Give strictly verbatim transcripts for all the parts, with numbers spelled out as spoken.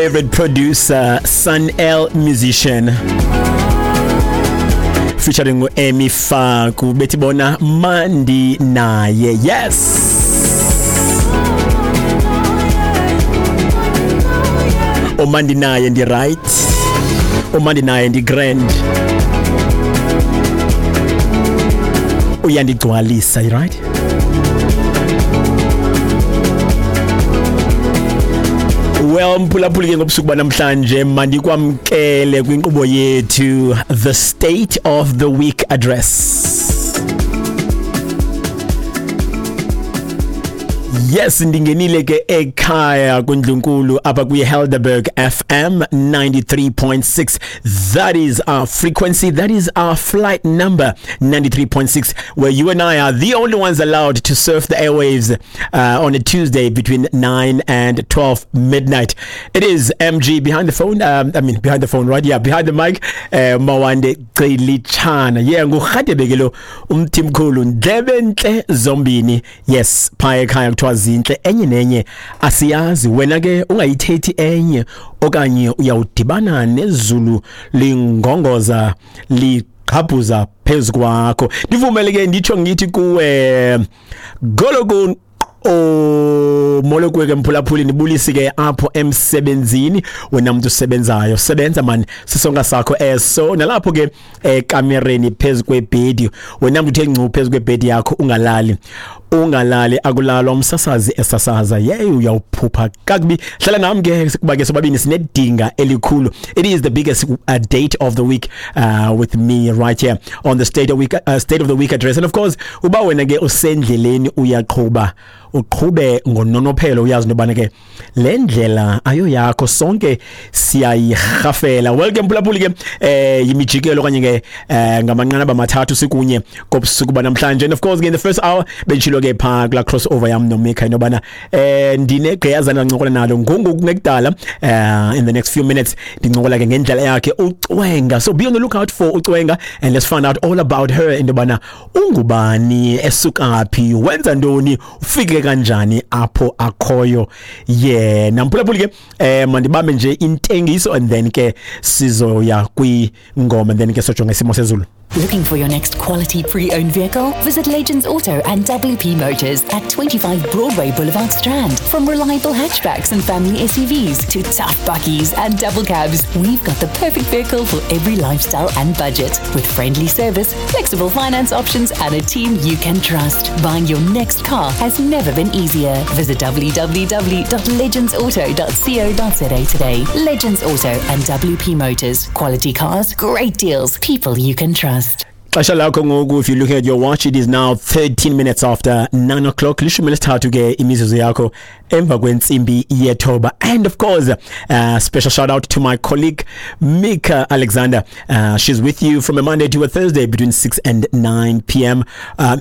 Favorite producer, Sun El Musician, featuring Emi Faku, bethi bona Mandi naye. Yes. Umandi naye ndi right. Umandi naye ndi grand. Uyandigcwalisa, right? Well, mphulaphuli ke ngobusuku banamhlanje mandikwamkele kwinkqubo yethu The State of the Week Address. Yes, ndingenile ke ekhaya kundlunkulu apha kwi-Helderberg F M ninety-three point six. That is our frequency, that is our flight number, ninety-three point six, where you and I are the only ones allowed to surf the airwaves uh, on a Tuesday between nine and twelve midnight. It is M G behind the phone, um, I mean behind the phone, right? Yeah, behind the mic, uh, Mawande Cilichana. Yeah, nguRhadebe ke lo umthimkhulu ndlebe ntle zombini. Yes, phaya ekhaya kuthiwa zintle enye nenye asiyazi, wena ke ungayithethi enye okanye uyawudibana nezulu lingongoza liqhabhuza phezu kwakho. Ndivumele ke nditsho ngithi kuwe gologo o molo kuwe ke mphulaphuli, nibulisi ke apho emsebenzini wena muntu usebenzayo, sebenza man sisonka sakho eso, nalapho ke ekamereni phezu kwebhedi wena muntu uthe ngcu phezu kwebhedi yakho ungalali ungalali akulalwa umsasazi esasaza, yey uyawuphupha kakubi. Hlala nami ke kuba ke sobabini sinedinga elikhulu. It is the biggest uh, date of the week uh, with me right here on the state of week uh, state of the week address. And of course uba wena ke usendleleni uyaqhuba uqhube ngononophelo, uyazi nobana ke le ndlela ayo yakho, sonke siyayirhafela. Welcome mphulaphuli ke eh yimijikelo kanye ke eh ngamanqanaba amathathu sikunye kobusuku banamhlanje. And of course ke in the first hour bentshilo ke pha kula crossover yam noMika inobana eh ndinegqiyazana ncincokola nalo ngongoku kungekudala eh in the next few minutes ndincokola ke ngendlela yakhe uCwenga. So be on the lookout for uCwenga and let's find out all about her, indobana ungubani, esukaphi, wenza ntoni, ufike kanjani apho akhoyo yena. Mphulaphuli ke eh mandibambe nje intengiso and then ke sizoya kwingoma and then ke sojonga isimo sezulu. Looking for your next quality pre-owned vehicle? Visit Legends Auto and W P Motors at twenty-five Broadway Boulevard Strand. From reliable hatchbacks and family S U Vs to tough bakkies and double cabs, we've got the perfect vehicle for every lifestyle and budget. With friendly service, flexible finance options and a team you can trust. Buying your next car has never been easier. Visit w w w dot legends auto dot co dot z a today. Legends Auto and W P Motors. Quality cars, great deals, people you can trust. Xesha lakho ngoku, if you look at your watch, it is now thirteen minutes after nine o'clock. Lishumi lesithathu ke imizuzu yakho emva kwentsimbi yethoba. And of course, uh, special shout out to my colleague Mika Alexander. Uh, she's with you from a Monday to a Thursday between six and nine p m. Um,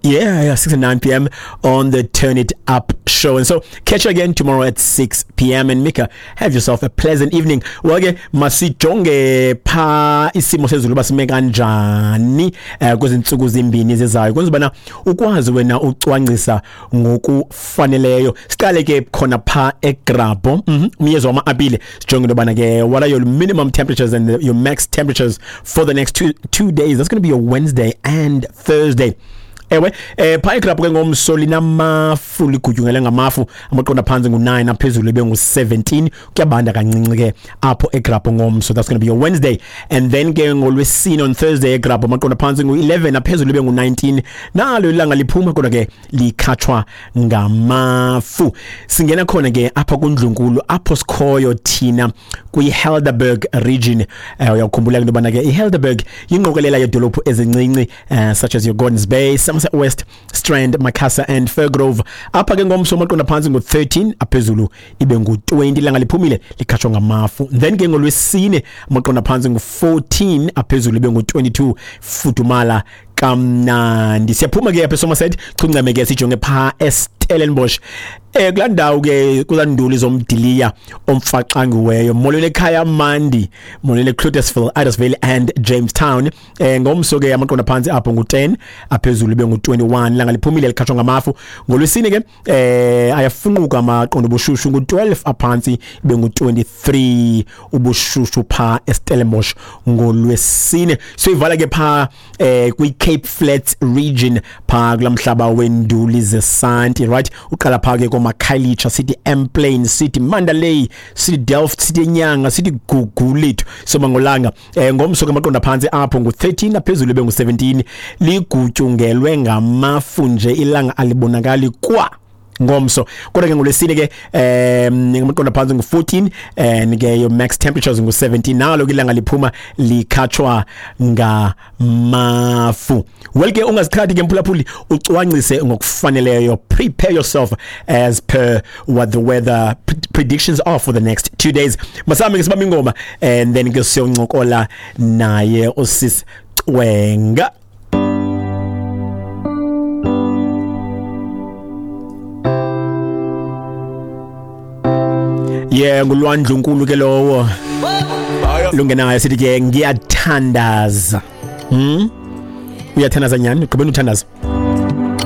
yeah, yeah, six and nine p m on the Turn It Up show. And so catch you again tomorrow at six p m. And Mika, have yourself a pleasant evening. Well, ke masijonge pha isimo sezulu basime kanjani eh kwezintsuku zimbini zezayo, kwenza bana ukwazi wena ucwangcisa ngokufaneleyo. Siqale ke khona pha eGrabho, mhm umyezo wama-apile, sijonge into bana ke what are your minimum temperatures and your max temperatures for the next two two days. That's going to be your Wednesday and Thursday. Ewe eh pha eGrabho ke ngomso linamafu, ligutyungele ngamafu, amaqonda phansi ngu nine aphezulu ibe ngu seventeen, kuyabanda kancinci ke apho eGrabho ngomso. That's going to be your Wednesday. And then ke ngolwesine on Thursday eGrabho amaqonda phansi ngu eleven aphezulu ibe ngu nineteen, nalo ilanga liphuma kodwa ke likhatshwa ngamafu. Singena khona ke apha kundlunkulu apho sikhoyo thina kwi-Helderberg region. Eh uyakhumbula into bana ke iHelderberg yingqokelela yedolophu ezincinci uh, such as your Gordons Bay, Somerset West, Strand, Macassar and Fairgrove. Apha ke ngomso amaqonda phansi ngu thirteen aphezulu ibe ngu twenty, ilanga liphumile likhatshwa ngamafu. Then ke ngolwesine amaqonda phansi ngu fourteen aphezulu ibe ngu twenty-two, fudumala Kamnandi. Siyaphuma ke apha eSomerset, chungcame ke sijonge pha eStellenbosch. Eh kulaa ndawo ke kulaa zomdiliya omfaxangiweyo. Molweni ekhaya Mandi, molweni Cloetesville, Idasville and Jamestown. Eh ngomso ke amaqonda phantsi apho ngu-ten, aphezulu ibe ngu-twenty-one. Langa liphumile likhatshwa ngamafu. Ngolwesine ke eh ayafunquka amaqondo obushushu ngu-twelve, aphantsi ibe ngu-twenty-three ubushushu pha eStellenbosch ngolwesine. Siyivala ke pha eh kwi Cape Flats region pha kulaa mhlaba wenduli zesanti, right? Uqala pha ke komakhayelitsha, sithi Emplane, sithi Mandalay, sithi Delft, sithi Enyanga, sithi Gugulethu, Somangolanga. Eh ngomso ke amaqonda phantsi apho ngu-thirteen, aphezulu ibe ngu-seventeen. Ligutyungelwe ngamafu nje, ilanga alibonakali kwa ngomso. Kodwa ke ngolwesine ke um amaqonda phantsi ngu-fourteen and ke your max temperatures ngu-seventeen. Nalo ke ilanga liphuma likhatshwa ngamafu. Well ke ungaziqhathi ke mphulaphuli, ucwangcise ngokufaneleyo. Prepare yourself as per what the weather predictions are for the next two days. Masambe ke sibambe ingoma and then ke siyoncokola naye uSis Cwenga. Yeah, ngulwandlu ke lowo lungenayo, sithi ke ngiyathandaza. Hmm? Uyathandaza nyani? Ugqibeni uthandaza.